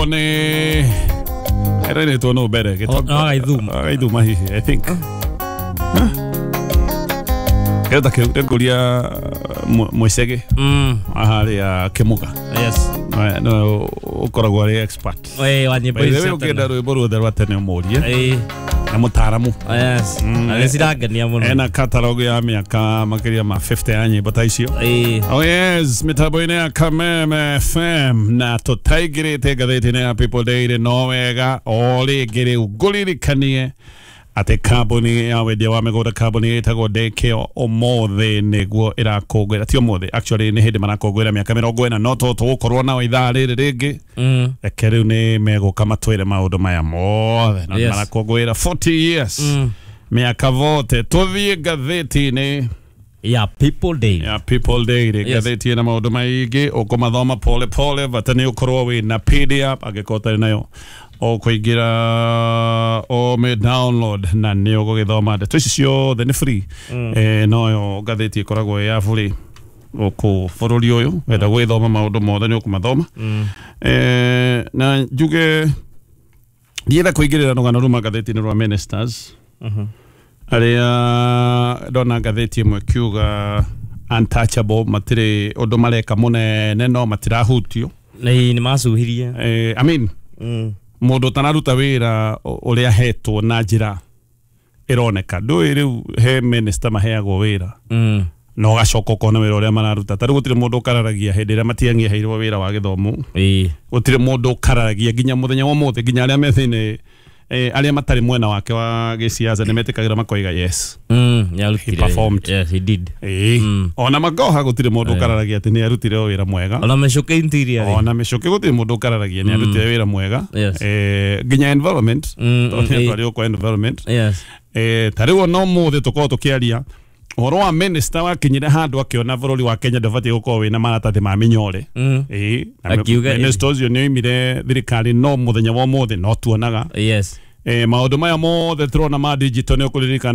Nĩ ĩrainĩtwo nũ mbere? No Gaithuma. Gaithuma hihi, I think. Kĩndũ ta kĩu ndĩngũria Mwĩcegĩ harĩa Kĩmũga. Nĩwe ũkoragwo arĩ expert. Wa nyĩmbo By the ici way, cia tene. ũngĩenda rwĩmbo ruothe rwa tene ũmũrie na mũtaaramu. Yes. Na nĩ cirangenia mũno. Ena catalog ya mĩaka makĩria ma 50 ya nyĩmbo ta icio. Oh yes, mitambo-inĩ ya Kameme FM na tũtaingĩrĩte ngathĩti-inĩ ya People Daily, no wega o rĩngĩ rĩu ngũririkanie atĩ kambuni ya wendia wa mĩgũnda, kambuni ĩtagwo Dekeo, ũmũthĩ nĩguo ĩrakũngũĩra, ti ũmũthĩ actually, nĩ hĩndĩ marakũngũĩra mĩaka 40, no to tũgũkorwo nao ithaa rĩrĩ rĩngĩ. Reke rĩu nĩ megũka matwĩre maũndũ maya mothe na marakũngũĩra 40 years, mĩaka vote. Tũthiĩ ngathĩti-inĩ ya People Day. Ya People Daily. Ngathĩti ĩna maũndũ maingĩ, ũkũmathoma pole pole, bata nĩ ũkorwo wĩna PDF. Angĩkorwo ũtarĩ nayo, ũkũingĩra ũmĩ download na nĩ ũgũgĩthoma. Ndeto ici ciothe nĩ free. Noyo ngathĩti ĩkoragwo ĩ ya free gũkũ bũrũri ũyũ. Wenda gwĩthoma maũndũ mothe nĩ ũkũmathoma. Na njuge ndienda kũingĩrĩra rũgano ruma ngathĩti-inĩ rwa ministers arĩa ndona ngathĩti ĩmwe kiuga untouchable, matirĩ ũndũ mareka mũnene no matirahutio. Nĩ macuhirie. I mean, mũndũ ũtanaruta wĩra ũrĩa ahetwo na njĩra ĩroneka, ndũĩ rĩu he minister maheagwo wĩra na ũgacoka ũkona wĩra ũrĩa mararuta. Ta rĩu gũtirĩ mũndũ ũkararagia hĩndĩ ĩrĩa Matiang'i aheirwo wĩra wa gĩthomo. Gũtirĩ mũndũ ũkararagia nginya mũthenya wa ũmũthĩ, nginya arĩa me thĩinĩ, arĩa matarĩ mwena wake wa gĩciaca nĩ metĩkagĩra makoiga yes. Nĩarutire. He performed. Yes, he did. Ĩĩ. Ona Magoha gũtirĩ mũndũ ũkararagia atĩ nĩ arutire wĩra mwega. Ona Mĩcũkĩ interior rĩ. Ona Mĩcũkĩ gũtirĩ mũndũ ũkararagia nĩ arutire wĩra mwega. Nginya environment, tondũ nĩ atwarirwo kwa environment. Ta rĩu ona ũmũthĩ tũkorwo tũkĩaria ũhoro wa minister wakinyire handũ akĩona bũrũri wa Kenya ndũbatiĩ gũkorwo wĩna maratathi ma mĩnyore. Ĩĩ, na Akiuga minister ũcio nĩ oimire thirikari, no mũthenya wa ũmũthĩ no tuonaga maũndũ maya mothe tũrona ma digital nĩ ũkũririkana.